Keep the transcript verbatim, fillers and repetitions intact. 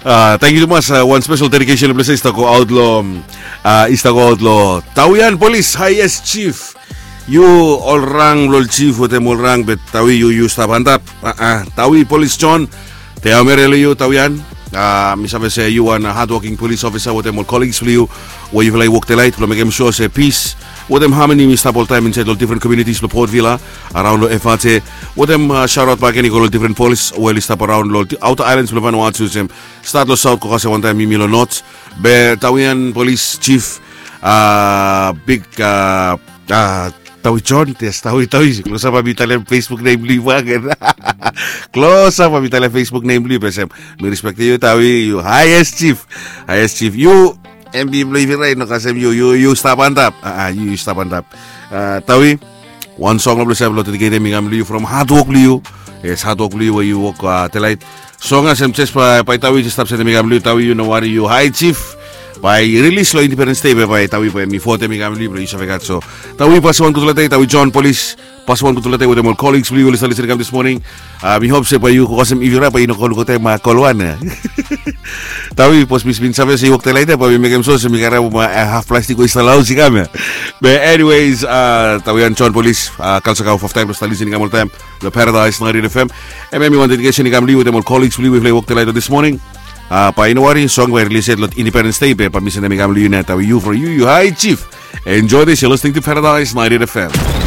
Tangkiu tumas. Wan spesel dedikesen blong yu i stap go aut long, i stap go aut long Tawian Polis, Highest Chief. Yu ol rang blong ol chief wetem ol rang, be Tawi, yu yu stap antap. Tawi Polis John, te haumere long yu Tawian. Mi save se yu wan hadwoking polis ofisa wetem ol colleagues blong yu we yufala i wok delait blong mekem sua se pis wetem hamani mi stap oltaem insaed long difren komiunitis blong Port Vila, araon long F R J. Wetem shaotaot bakegen i go long difren polis we oli stap araon long aota aelan blong Vanuatu, olsem stat long saot go kasem wantaem yumi long not. Be Tawian Polis Chief, big Tawi John, yes, Tawi, Tawi, klosap bae mi talem Facebook nem blong yu bakegen. Klosap bae mi talem Facebook nem blong yu, be olsem mi respektem yu Tawi, yu Highest Chief. Highest Chief, yu, M B blong yu, right, no kasem yu, yu yu stap antap. Yu yu stap antap. Tawi, wan song long blong yu save long dediketem i kam long yu from hadwok blong yu. Yes, hadwok blong yu we yu wok delait. Song olsem jes bae Tawi jes stap sendem i kam long yu, Tawi, yu no wari, yu High Chief. Bae i rilis long Independence Day be bae Tawi bae mi fotem i kam long yu blong yu save gat. So Tawi, pasim wan gudfala dei. Tawi John Polis, pasim wan gudfala dei wetem ol colleagues blong yu we oli stap lisin i kam this morning. Mi hop se bae yu go kasem ifi rak bae yu no go lukaotem kol wan. Tawi, bikos mi bin save se yu wok delait ya, bae mi mekem sua se mi karem haf plastik we i stap long haos i kam ya. Be anyways, Tawian John Polis, kalsa kau faftaem blong stap lisin i kam oltaem long Paradise ninety-eight F M. Hemia hemi wan dedikesen i kam long yu wetem ol colleagues blong yu we yufala i wok delait long this morning. Bae yu no wari, song bae i rilis yet long Independence Day be bae mi sendem i kam long yu nao, Tawi, yu from yu, yu High Chief. Enjoy this, you're listening to Paradise ninety-eight F M.